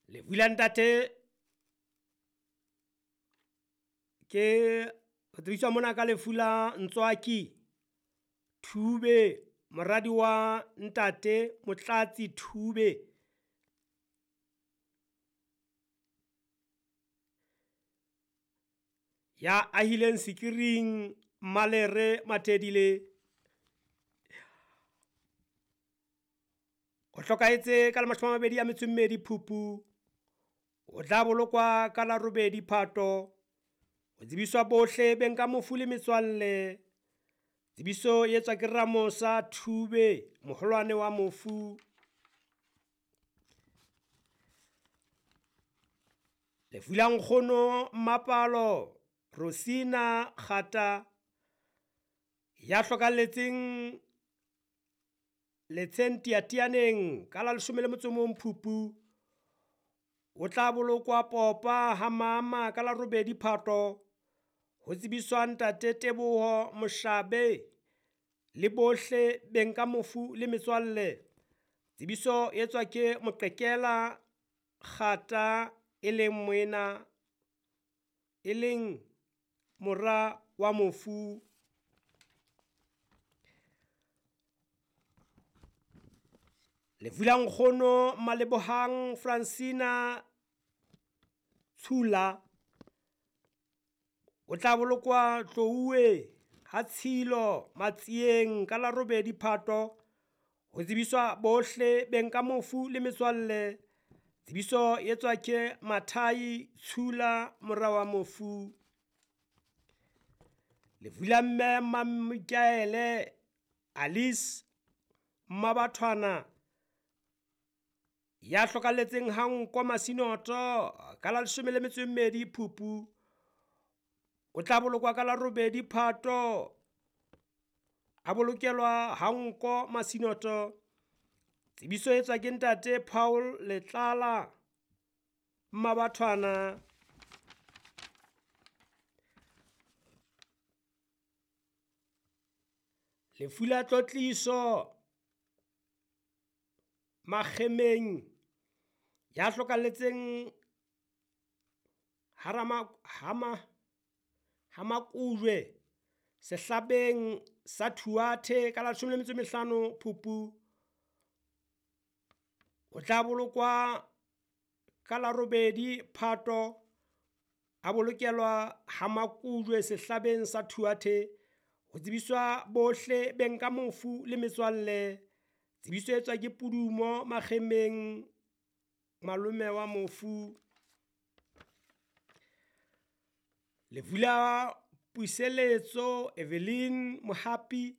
Lefu la ntate ke re tsebiswa mona ka lefu la Ntswaki Thube, moradi wa ntate Motlatsi Thube. Ya ahileng Sekiring, Mmalere Mathedile. O hlokahetse ka la 22 Phupu, o tla bolokwa ka la 8 Phato. Ho tsebiswa bohle beng ka mofu le metswalle. Tsebiso e etswa ke Ramosa Thube, moholwane wa mofu. Lefu la nkgono Mmapalo Rosina Kgata, ya hlokalletseng letsheng Teyateyaneng ka la 11 Phupu, o tla bolokwa Popa ha mama ka la 8 Phato. Ho tsebiswa ntate Teboho Moshabe le bohle beng ka mofu le metswalle. Tsebiso e etswa ke Moqekela Kgata, e leng moena, e leng mora wa mofu. Lefu la nkgono Malebohang Francina Tshula, o tla bolokwa Tlouwe ha Tshilo Matsieng ka la 8 Phato. Ho tsebiswa bohle beng ka mofu le metswalle. Tsebiso e etswa ke Mathai Tshula, mora wa mofu. Lefu la mme Mmamikaele Alice Mmabathwana, ya hlokalletseng ha Nko Masinoto ka la 12 Phupu, o tla bolokwa ka la 8 Phato, a bolokelwa ha Nko Masinoto. Tsebiso e etswa ke ntate Paul Letlala Mmabathwana. Lefu la tlotliso Makgemeng, ya hlokalletseng Hamakujwe sehlabeng sa Thuathe ka la 15 Phupu, o tla bolokwa ka la 8 Phato, a bolokelwa Hamakujwe sehlabeng sa Thuathe. Ho tsebiswa bohle beng ka mofu le metswalle. Tsebiso e etswa ke Pudumo Makgemeng, malome wa mofu. Lefu la Puseletso Evelyn Mohapi,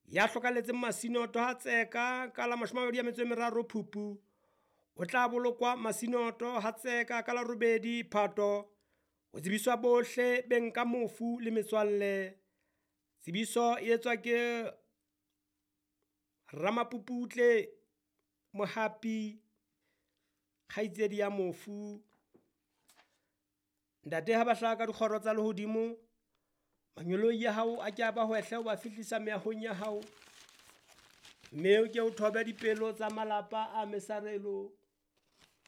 ya hlokalletseng Masinoto ha Tseka ka la 23 Phupu, o tla bolokwa Masinoto ha Tseka ka la 8 Phato. Ho tsebiswa bohle beng ka mofu le metswalle. Tsebiso e etswa ke Ramapuputle Mohapi, kgaitsedi ya mofu. Ntate ha ba hlaha ka dikgoro tsa lehodimo, manyoloi ya hao a ke a ba hwehle ho ba fihlisa meahong ya hao, mme o ke o thobe dipelo tsa malapa a mesarelo.